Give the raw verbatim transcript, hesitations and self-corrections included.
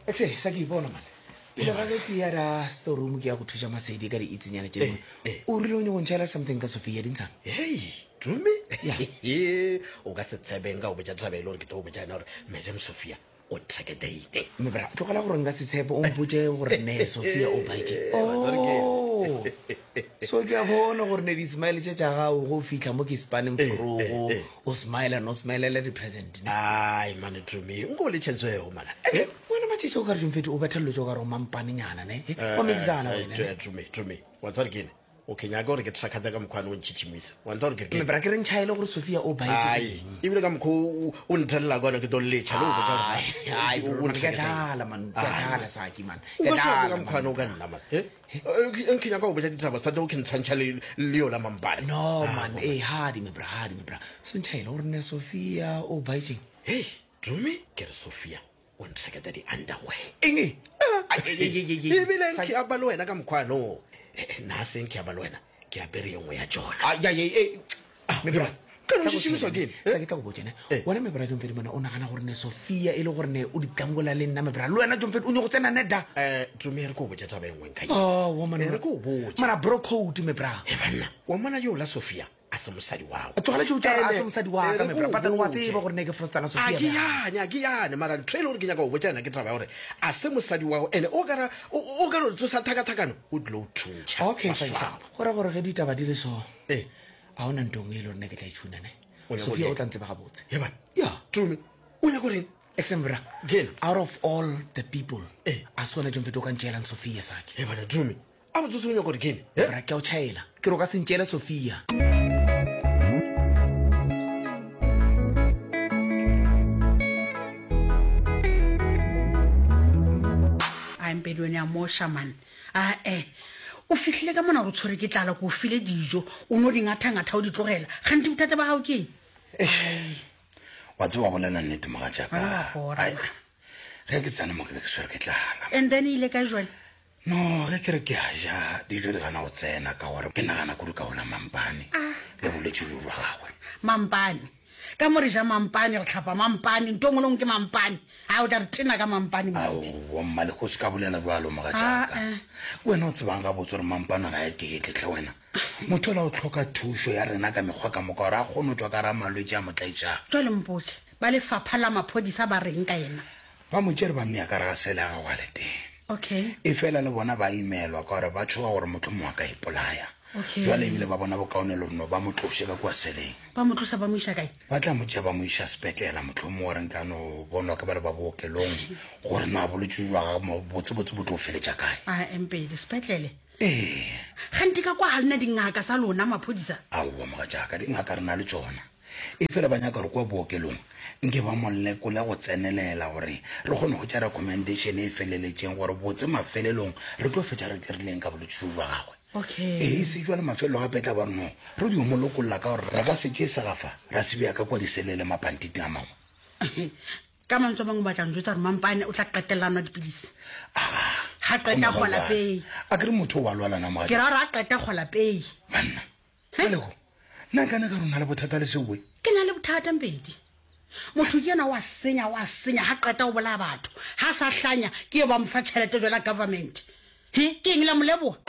Exe sa ke ipona man. Pele ga ge ke ya ra storeroom ke ya go thuša Masedi ka diitsenyana tše dingwe. Eh, eh. O rile o nyako ntšhaela something ka Sophia dintshang. Hei, Tumi. Ya. O ka se tshebeng ka go botša taba e le gore ke tlo go botša yena gore Madam Sophia o trakedeite. Mebra, tlogela gore nka se tshepe o mpotše gore ne Sophia o baetše. Oh. So ke a bona gore ne di-smile tše tša gago go fihla mo ke spaneng forogo o smile no smilela di-present ne. Ai mane Tumi, nko o le tšhetswego mana. Eh, wena matšhetše o ka re jomfete o betha dilo tše o ka re o mampanenyana ne Eh, wa mekisana wena ne. Tumi, Tumi, wa tseba gore ke eng? O ke nyaka gore ke trakate ka mokgwa o ntšhitšhimisa. Wa ntha gore ke re ke eng? Mebra ke re ntšhaele gore Sophia o baetše ka Ai, eng. ebile ka mokgwa o o nthelela ka ona ke tlo letšha le go botša gore Ai, ai, o- bro, o man, ke a nthaketeng. dlala man, ke a Ai, dlala man. Saki man. O Ke a ka se batle dlala ka mokgwa man. o ka nna man. Eh? Eh, Nke nyaka go botša ditaba sa tlo ke ntshwantšha le le yola mampane. No man, eh hadi mebra, hadi mebra. So ntšhaele gore ne Sophia o baetšeng. Hei, Tumi, ke re Sophia o ntheketa di-underwear. Eng e? Ai, ai, ai, ai, ai, ai. Ebile Saki- nke a ba le wena ka mokgwa no. Eh, nna se nke a ba le wena ke apere ye nngwe ya tšona. Ai, ai, ai, ai. Mebra, Kana o tla go šišimišwa ke eng? tshwenya. Sa ke tla go botša ne. Eh. Wena mebra Jomfedi mona o nagana gore ne Sophia e le gore ne o ditlangola le nna mebra. Le wena Jomfedi o nyako tsena ne da. Eh, Tumi e re ke o botša taba e nngwe nka ye. Oh, woman. Eh, re ke o botše. Mara bro code mebra. Eh, banna, wa mona yo la Sophia a se mosadi wa A tlogela tšeo tša a Ene, se mosadi wa eh, ka re ke mebra. o Patane wa botše. tseba gore ne ke frostana a Sophia. ke bjang. yane a ke yane mara ntho e le gore ke nyaka go botša yena ke taba ya gore a se mosadi wa gago ene o kara o o ka no tsosa thakathakano o tlilo o thuntšha Okay, wa fine. swaba. Go ra gore ge ditaba di le so. Eh. A hona ntho e nngwe e le gore ne ke tla e tšhuna ne. O nyaka Sophia go o tla ntseba gabotse. He bana Ya. Tumi o nyaka goreng Exembra. Ke ena? Out of all the people. Eh. A se wena Jomfedi o ka ntšeelang Sophia Saki. he bana Tumi a botsotse o nyaka gore ke eng Eh? Bra ke a o tšhaela. Ke re o ka se ntšeele Sophia. a mpedi wene a moša man ae o fihlile ka mona gore o tshwere ke tlala ko o file dijo o no di ngatha-ngatha o di tlogela gante bothata ba gago ke eng wa tseba bolela nnete mogatšaka Wena wa bora, Ai, man. ge ke tsena mo ke be ke swere ke tlala and then e ile ka jale no ge ke re ke a ja dijo di gana go tsena ka gore ke nagana kudu ka ona mampane le bolwetse jo jwa gagwe mampane ka mo re ja mampane re tlhapa mampane nto ngwe le ngwe ke mampane a o tla re tena ka mampane moruti. aowa mmalego o se ka bolela jalo mogatšaka Ah, eh. wena o tsebang gabotse gore mampane ga e keketle wena motho ola o tlhoka thušo ya rena ka mekgwa ka moka gore a kgone go tswa ka ra malwetse a mo tlaišang jwale mpotse ba lefapha la maphodisa ba reng ka yena ba mo tšere ba mmea ka re ga sele ya gago a le teng okay e fela le bona ba imelwa ka gore ba tshoga gore motho mongwe a ka ipolaya Okay. jwale ebile ba bona bokaone le reno ba mo tloše ka kua seleng ba mo tlosa ba mo iša kae ba tla mo tšea ba mo iša sepetlela motlho mongwe gore nka no bonwa ke ba le ba bookelong gore na bolwetse jwa gagwe botsebotse bo tlo feletša kae a mpedi sepetlele ee gante ka kwa ga lena dingaka tsa lona maphodisa aowa mogatšaka dingaka re na le tsona e fela ba nyaka gore kua bookelong nke ba molekole go tsenelela gore re kgone go tša recommendation e feleletšeng gore botse mafelelong re tlo fetša re dirileng ka bolwetse jo jwa gagwe okay ee se jwale mafelelo gape tla ba re no re dio mo lokolla ka gore re ka se tšee segafa ra se bea ka kua diselele mapantiti a mangwe ka mantswe a mangwe o batla njwetsa gore mampane o tla qetelela a nwa dipilisi ga Go qeta no ba gola jwalo. pei a kere motho o wa lwalana ke mogatša ra gore a qeta gola pei banna malego nna nkane ka rona le bothata le seoe ke na le bothata mpedi motho ke yena wa senya wa senya ga qeta o bolaya batho ga sa hlanya ke e ba mo fa tšhelete jala government he ke eng la mo leboga